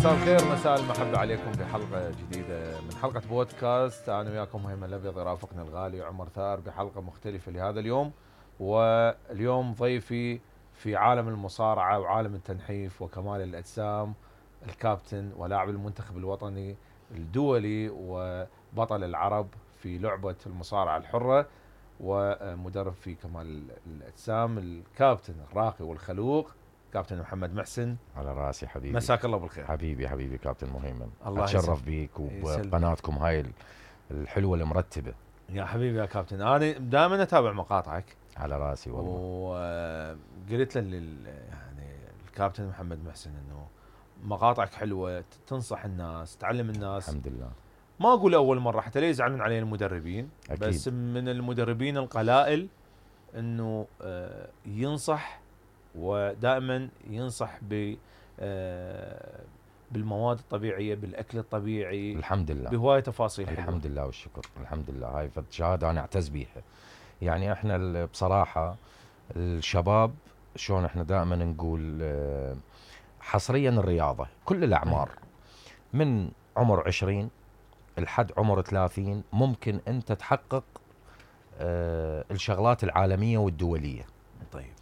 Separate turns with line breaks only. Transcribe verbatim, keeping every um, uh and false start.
مساء الخير، مساء المحبة عليكم بحلقة جديدة من حلقة بودكاست. أنا وياكم هيما الأبيض، يرافقني الغالي عمر ثار بحلقة مختلفة لهذا اليوم. واليوم ضيفي في عالم المصارعة وعالم التنحيف وكمال الأجسام الكابتن ولاعب المنتخب الوطني الدولي وبطل العرب في لعبة المصارعة الحرة ومدرب في كمال الأجسام، الكابتن الراقي والخلوق كابتن محمد محسن.
على راسي حبيبي،
مساك الله بالخير
حبيبي حبيبي كابتن مهيمن.
الله
اتشرف بيك وبقناتكم هاي الحلوه المرتبه
يا حبيبي يا كابتن. انا دائما اتابع مقاطعك
على راسي والله،
وقلت له يعني الكابتن محمد محسن انه مقاطعك حلوه، تنصح الناس، تعلم الناس.
الحمد لله.
ما اقول اول مره حتى لا يزعلون علينا المدربين، أكيد. بس من المدربين القلائل انه ينصح، ودائما ينصح ب بالمواد الطبيعيه، بالاكل الطبيعي،
الحمد لله،
بهوايه تفاصيل حلوه.
الحمد لله والشكر، الحمد لله. هاي شهاده انا اعتز بيها. يعني احنا بصراحه الشباب شلون احنا دائما نقول حصريا الرياضه كل الاعمار من عمر عشرين لحد عمر ثلاثين ممكن انت تحقق الشغلات العالميه والدوليه.
طيب